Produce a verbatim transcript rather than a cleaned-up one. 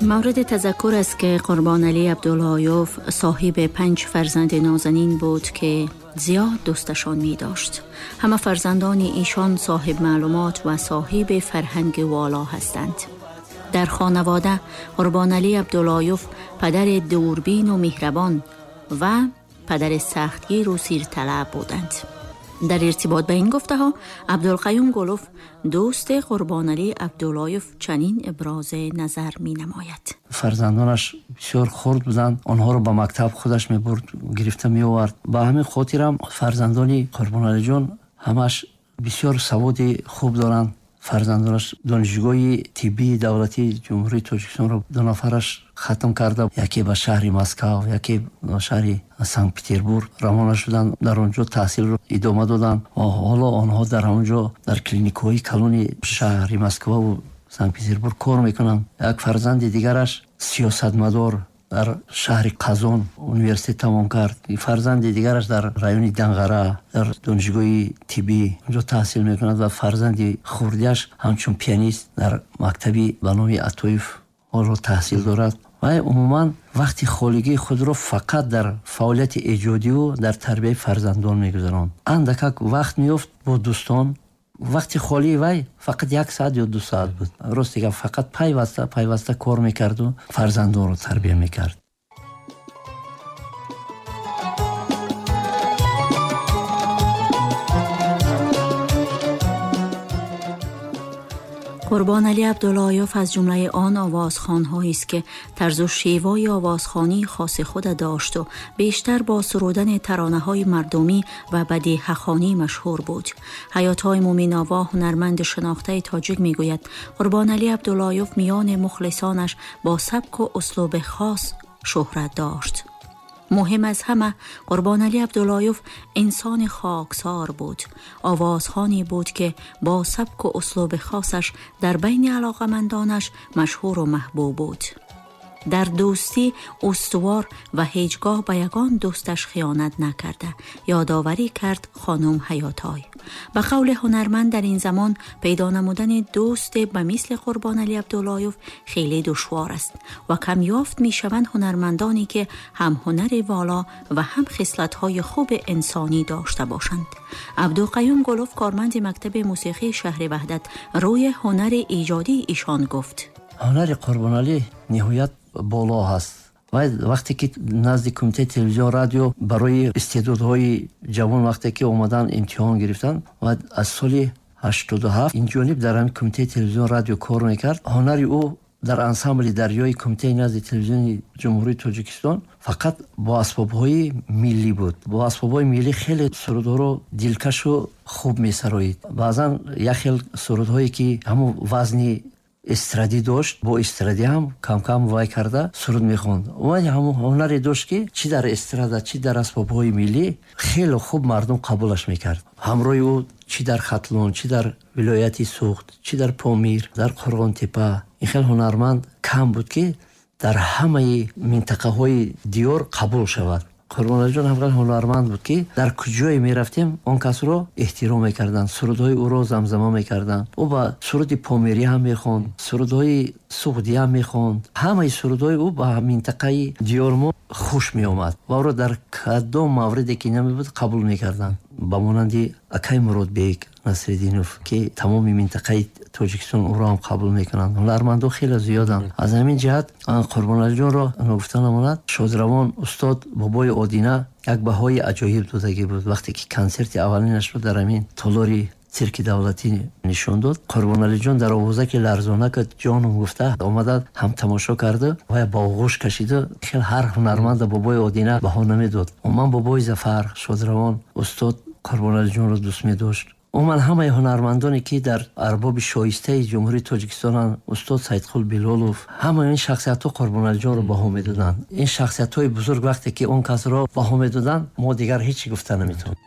مورد تذکر است که قربانعلی عبداللهیوف صاحب پنج فرزند نازنین بود که زیاد دوستشان می داشت. همه فرزندان ایشان صاحب معلومات و صاحب فرهنگ والا هستند. در خانواده قربانعلی عبداللهیوف پدر دوربین و مهربان و پدر سختگیر و سیرطلب بودند. در ارتباط به این گفته ها عبدالقیوم گلوف دوست قربانعلی عبداللهیوف چنین ابراز نظر می نماید. فرزندانش بسیار خرد بودند، آنها را به مکتب خودش می برد، گرفته می آورد. به همین خاطر هم فرزندان قربانعلی جان همش بسیار سواد خوب دارند. فرزندانش دانشگاه طبی دولتی جمهوری تاجیکستان را دو نفرش ختم کرده، یکی به شهر مسکو، یکی به شهر سانکت پتربورگ روانه شدند، در آنجا تحصیل را ادامه دادند و حالا آنها در آنجا در کلینیک های کلون شهر مسکو و سانکت پتربورگ کار میکنند. یک فرزند دیگرش سیاستمدار در شهر قزان университет тамом кард. Фарзанди дигараш дар райони Данғара дар донишгоҳи тиббӣ онҷо таҳсил мекунад ва фарзанди хурдиаш ҳамчун пианист дар мактаби ба номи Атоев ҳоло таҳсил дорад. Ва умуман вақти холигии худро фақат дар фаъолияти эҷодиву дар тарбияи фарзандон мегузаронд. Андакак вақт меёфт бо дӯстон. Вақти холии вай фақат як саат ё ду саат буд. Рост дигар фақат пайваста пайваста кор мекарду фарзандонро тарбия мекард. قربانعلی عبداللهیوف از جمله آن آوازخوان‌هایی است که طرز و شیوای آوازخوانی خاص خود داشت و بیشتر با سرودن ترانه‌های مردمی و بدیهه‌خوانی مشهور بود. حیات‌های مومین‌آوا هنرمند شناخته تاجیک می‌گوید قربانعلی عبداللهیوف میان مخلصانش با سبک و اسلوب خاص شهرت داشت. مهم از همه قربانعلی عبداللهیوف انسان خاکسار بود، آوازخوانی بود که با سبک و اسلوب خاصش در بین علاقمندانش مشهور و محبوب بود. در دوستی استوار و هیچگاه به یگان دوستش خیانت نکرده یادآوری کرد خانم حیاتای. به قول هنرمند در این زمان پیدا نمودن دوست به مثل قربانعلی عبداللهیوف خیلی دشوار است و کم یافت می شوند هنرمندانی که هم هنر والا و هم خصلت‌های خوب انسانی داشته باشند. عبدالقیوم گلوف کارمند مکتب موسیقی شهر وحدت روی هنر ایجادی ایشان گفت: هنر قربانعلی نهایت боло ҳаст. Ва вақте ки назди кумитаи телевизион радио барои истеъдодҳои ҷавон вақте ки омадан имтиҳон гирифтанд ва аз соли ҳаштоду ҳафт ин ҷониб дар ҳамин кумитаи телевизион радио кор мекард. Ҳунари ӯ дар ансамбли дарёи кумитаи назди телевизиони ҷумҳурии Тоҷикистон фақат бо асбобҳои миллӣ буд. Бо асбобҳои миллӣ хеле сурудҳоро дилкашу хуб месароид. Баъзан як хел сурудҳое ки ҳамон вазни эстрадӣ дошт, бо эстрадӣ ҳам кам-кам вай карда суруд мехонд. Вай ҳамон ҳунаре дошт ки чӣ дар эстрада, чӣ дар асбобҳои миллӣ хеле хуб мардум қабулаш мекард. Ҳамроҳи ӯ чӣ дар Хатлон, чӣ дар вилояти Суғд, чӣ дар Помир, дар Қурғонтепа ин хел ҳунарманд кам буд ки дар ҳамаи минтақаҳои диёр қабул шавад. Қурбоналиҷон ҳам ҳунарманд буд ки дар куҷое мерафтем он касро эҳтиром мекарданд, сурудҳои ӯро замзама мекарданд. Ӯ ба суруди помирӣ ҳам мехонд, сурудҳои суғдӣ ҳам мехонд. Ҳамаи сурудҳои ӯ ба минтақаи диёр мо хуш меомад ва ӯро дар кадом мавриде ки намебуд қабул мекарданд. Ба монанди акай Муродбек Насриддинов ки тамоми минтақаи Тоҷикистон ӯро ҳам қабул мекунанд. Ҳунармандо хеле зиёданд. Аз ҳамин ҷиҳат Қурбоналиҷонро гуфта намонад, шодравон устод Бобои Одина як баҳои аҷоиб додагӣ буд вақте ки консерти аввалинашро дар ҳамин толори цирки давлатӣ нишон дод. Қурбоналиҷон дар овоза ки ларзона ки ҷоном гуфта омада ҳам тамошо карда ва ба оғӯш кашида. Хел ҳар ҳунарманда Бобои Одина баҳо намедод. Умуман Бобои Зафар шодравон устод Қурбоналиҷонро дӯст медошт. Умуман ҳамаи ҳунармандоне ки дар арбоби шоистаи ҷумҳурии Тоҷикистонанд, устод Саидқул Билолов, ҳамаи ин шахсиятҳо Қурбоналиҷонро баҳо медоданд. Ин шахсиятҳои бузург вақте ки он касро баҳо медоданд, мо дигар ҳеҷ чӣ гуфта наметавонем.